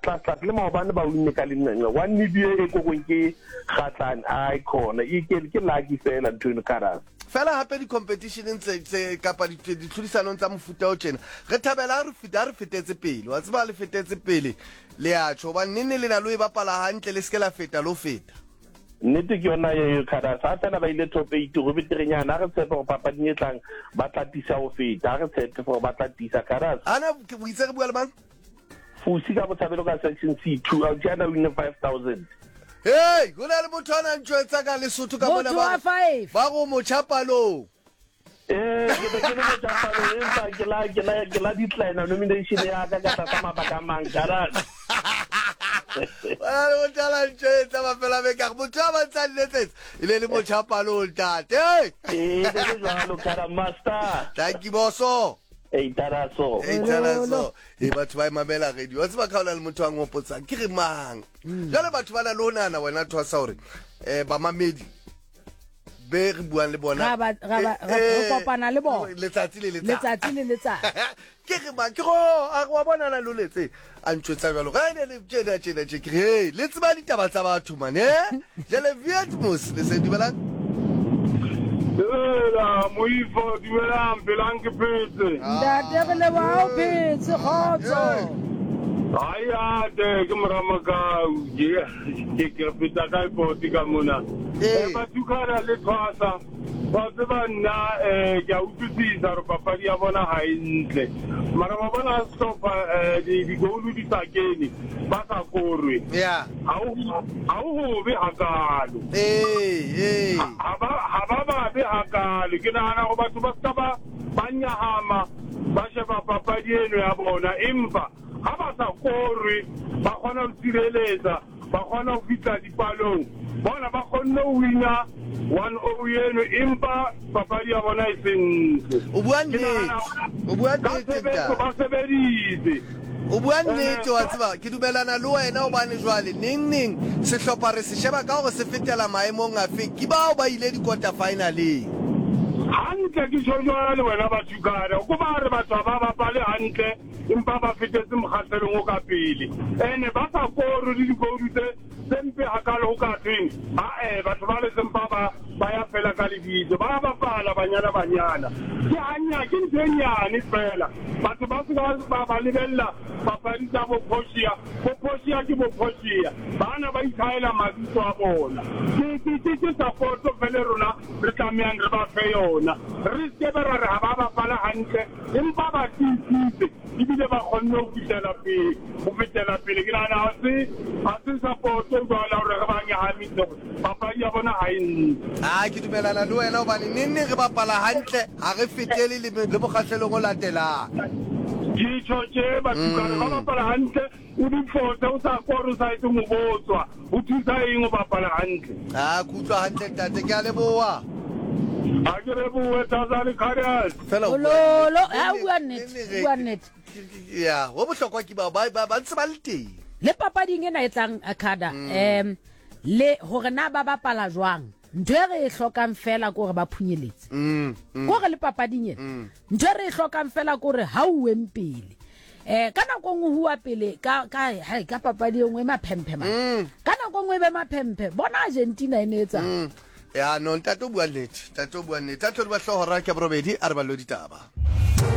tlase tlase le maobane ba winne ka lenqenqe one nil e kokong ke Kgatlane ai khona e ke ke lucky fela ntho eno Caras. Fela hape di-competitioneng tse, tse kapa ditlhodisanong tsa mofuta o tjena re thabela ha re feta ha re fetetse pele wa tseba le fetetse pele le a tjho hobane nenne le na lo e bapala hantle le se ke la feta lo feta. Nnete ke yona eo Caras ha fela ba ile top 8 go beterenyana ha re tshepe gore papading e tlang ba tla tisa go feta ha re tshepe gore ba tla tisa Caras. Ana o itse re bua le mang? Fusi ka botshabelo ka section C2 a tšana win 5000. Hey, go na le motho a na ntšwetsa ka Lesotho ka mona ba ba go motjha palong. Eh, ke be ke le motjha palong empa ke la ke la ke la decline nomination ya ka ka tlasa mabaka a mang kana. Ba le motho a na ntšwetsa mafela beke a motho a ba ntsa nletsetsa e le le motjha palong ntate. Eh, le jwalo kana master. Thank you boso. Ei taraso. Ei taraso. E batho ba e mamela radio. Wa tseba ka hona le motho a ngopotsang ke re mang. Hmm. Jwale batho ba na le ho nahana wena thwasa hore eh bamamedi be re buang le bona. Ra ra eh, eh, kopana le bona. Letsatsi le letsatsi. Letsatsi le letsatsi. Ke re mang ke go a wa bona na loletse a ntjwetsa jwalo. Ga ne le tjena tjena tje ke re le tseba ditaba tsa batho man eh. Jale Vietmos le se dumelang. Dumela moifo, dumelang phelang ke phetse. Ntate re leboha o phetse kgotso. Ai ate ke mora Makau ke ke ke feta ka poti ka mona. Eh Batukana le Thwasa ba tseba nna eh ke a utlwisisa gore papadi ya bona ga e ntle. Mara ba bona sehlopha eh di di di sa kene ba sa korwe. Yeah. Ha o ha o hobe hakaalo. Ee, ee. Ha ba ha ba babe hakaalo. Ke nahana gore batho ba ska ba ba nyahama ba sheba papadi eno ya bona empa ha ba sa korwe ba kgona ho sireletsa ba kgona ho fihla dipalong bona ba kgonne ho wina 1-0 eno empa papadi ya bona e se ntle. O bua nnete. O bua nnete ntate. Ba sebeditse. O bua nnete wa tseba ke dumelana le wena hobane jwale neng neng sehlopha re se sheba ka hore se fetela maemong afe ke bao ba ile di-quarter finaleng. Hantle ke tjho jwale wena Bathukana ko ba re batho ha ba bapale hantle empa ba fetetse mokgahlelong o ka pele ene ba sa koro le dikoudu tse tse mpe hakalo ho ka thweng ae batho ba le sempa ba ba ya fela ka lebitso ba bapala banyana banyana ke hanya ke ntho e nyane fela batho ba se ba ba lebella papadi tsa bo Portia bo Portia ke bo Portia bana ba ithaela mabitso a bona ke ke ke ke support fele rona re tlamehang re ba fe yona re se be ra re ha ba bapala hantle empa ba tiisitse ebile ba kgonne ho fihlela pele ho fetela pele. Ke nahana ha se ha se support-o jwale hore re ba nyahamise hore papadi ya bona ha e ntle. A ke dumelana le wena hobane neng neng re bapala hantle ha re fetele le le mokgahlelong o latelang. Ke tjho tje Batukana ba bapala hantle o di fose o sa kore o sa etse ho botswa ho thusa eng o bapala hantle. A ke utlwa hantle ntate ke a leboha. Ha ke lebohe Tazani Karius. Fela o bua Ololo, nnete. ha o bua nnete, o bua nnete. Ya, ho bohlokwa ke bao ba ba ba ntse ba le teng. Le papading ena e tlang Akada, um le hore na ba bapala jwang. Ntho e re e hlokang fela ke hore ba phunyeletse. Ke hore le papading ena, ntho e re e hlokang fela ke hore ha o weng pele. Eh ka nako nngwe huwa pele ka ka hai ka papadi e nngwe e maphemphe man. Ka nako nngwe e be maphemphe. Bona Argentina e ne etsang. Ya no ntate o bua nnete, ntate o bua nnete. A tlhodi ba hlooho hora ke ya borobedi a re ballo ditaba.